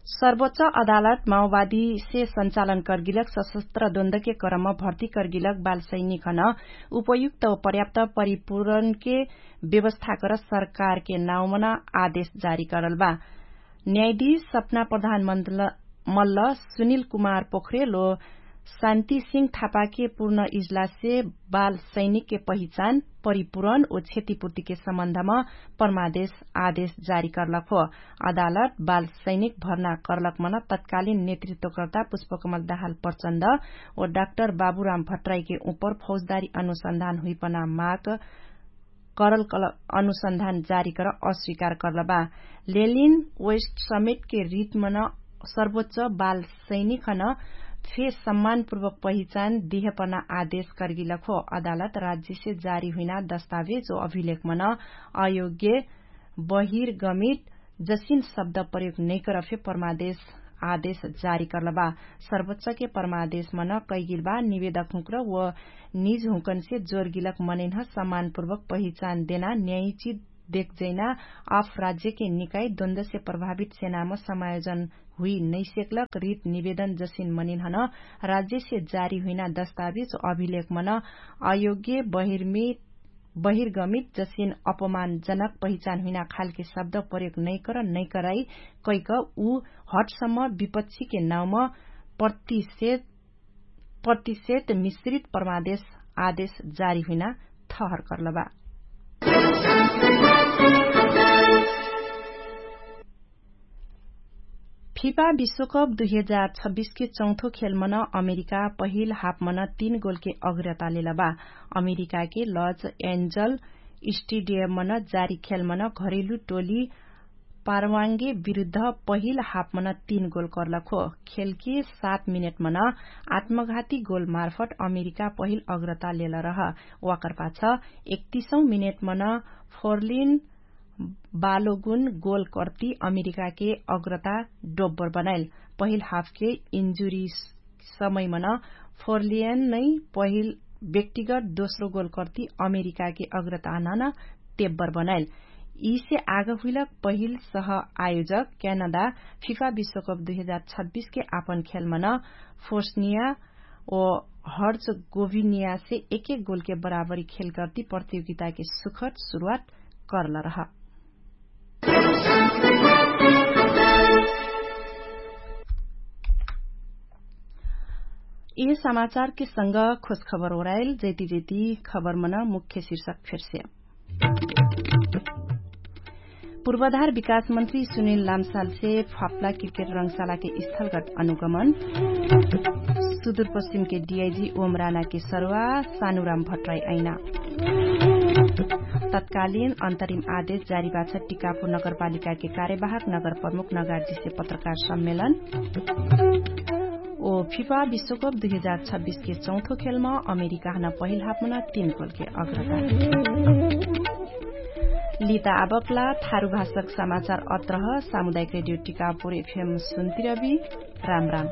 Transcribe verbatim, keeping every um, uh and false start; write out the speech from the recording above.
सर्वोच्च अदालत माओवादीसे सञ्चालन कर्गिलक सशस्त्र द्वन्द्वके क्रम भर्ती कर्गिलक बालसैनिकन उपयुक्त पर्याप्त परिपूरणके व्यवस्था कर सरकारके नाउँमन आदेश जारी करल बा। न्यायाधीश सपना प्रधानमन्त मल्ल सुनिल कुमार पोखरेल ओ शान्ति सिंह थापाके पूर्ण इजलाससे बाल सैनिकके पहिचान परिपूरण ओ क्षतिपूर्तिके सम्बन्धम परमादेश आदेश जारी करलक हो। अदालत बाल सैनिक भर्ना करलक मन तत्कालिन नेतृत्वकर्ता पुष्पकमल दाहाल प्रचण्ड ओ डाक्टर बाबुराम भट्टराईके उपर फौजदारी अनुसन्धान हुइपना माग करल अनुसन्धान जारी कर अस्वीकार करल बा। लेलिन वेस्ट समेटके रितमन सर्वोच्च बाल सैनिकन फे सम्मानपूर्वक पहिचान दिहपना आदेश कर्गिलक हो। अदालत राज्यसे जारी हुइना दस्तावेज ओ अभिलेखमन अयोग्य बहिर्गमित जसिन शब्द प्रयोग नैकर फे परमादेश आदेश जारी करल बा। सर्वोच्चके परमादेश मन कैगिल बा निवेदक हुँकर व निज हुँकनसे जोरगिलक मनैन्ह सम्मानपूर्वक पहिचान देना न्यायिची देखजैना अफ राज्यके निकाई द्वन्द्वसे प्रभावित सेनाम समायोजन हुइ नैसेकलक रित निवेदन जसिन मनैन्हन राज्यसे जारी हुइना दस्तावेज अभिलेख मन अयोग्य बहिर्मित बहिर्गमित जसिन अपमानजनक पहिचान हुइना खालके शब्द प्रयोग नैकर नैकराई कैक उ हटसम्म विपक्षीके नाउँम प्रतिषेध प्रतिषेध मिश्रित परमादेश आदेश जारी हुइना ठहर करल बा। फिफा विश्वकप दुई हजार छब्बिसके चौथो खेलमन अमेरिका पहिल हाफमन तीन गोलके अग्रता लेल बा। अमेरिकाके लज एन्जल स्टेडियममन जारी खेलमन घरेलु टोली पारवाङ्गे विरुद्ध पहिल हाफमन तीन गोल कर्लक हो। खेलके सात मिनेटमन आत्मघाती गोलमार्फट अमेरिका पहिल अग्रता लेल रह। वाकरपाछ एकतिसौँ मिनेटमन फोर्लिन बालोगुन गोल कर्ती अमेरिकाके अग्रता डोब्बर बनाइल। पहिल हाफके इन्जुरी समयमन फोर्लियन नै पहिल व्यक्तिगत दोस्रो गोल कर्ती अमेरिकाके अग्रता नन तेब्बर बनाइल। यिसे आग हुइलक पहिल सह आयोजक क्यानाडा फिफा विश्वकप दुई हजार छब्बिसके आपन खेलमन फोर्सनिया ओ हर्च गोभिनियासे एक एक गोलके बराबरी खेल कर्ती प्रतियोगिताके सुखद सुरुवात कर्ल रह। यि समाचारके संग खोज खबर ओराइल जैती जैती खबरमन मुख्य शिर्षक फेर्से। पूर्वाधार विकास मन्त्री सुनिल लामसालसे फाप्ला क्रिकेट रङ्गशालाके स्थलगत अनुगमन। सुदूरपश्चिमके डिआइजी ओमरानाके सरुवा सानुराम भट्टराई ऐना। तत्कालिन अन्तरिम आदेश जारी बाछ टिकापुर नगरपालिकाके कार्यवाहक नगरप्रमुख नगार्जीसे पत्रकार सम्मेलन। ओ फिफा विश्वकप दुई हजार छब्बिसके चौथो खेलमा अमेरिकाहन पहिल हाफमन तीन गोलके अग्रता। लिता आबकला थारु भाषक समाचार अत्रह। सामुदायिक रेडियो टिकापुर एफएम सुन्तिरबी। राम राम।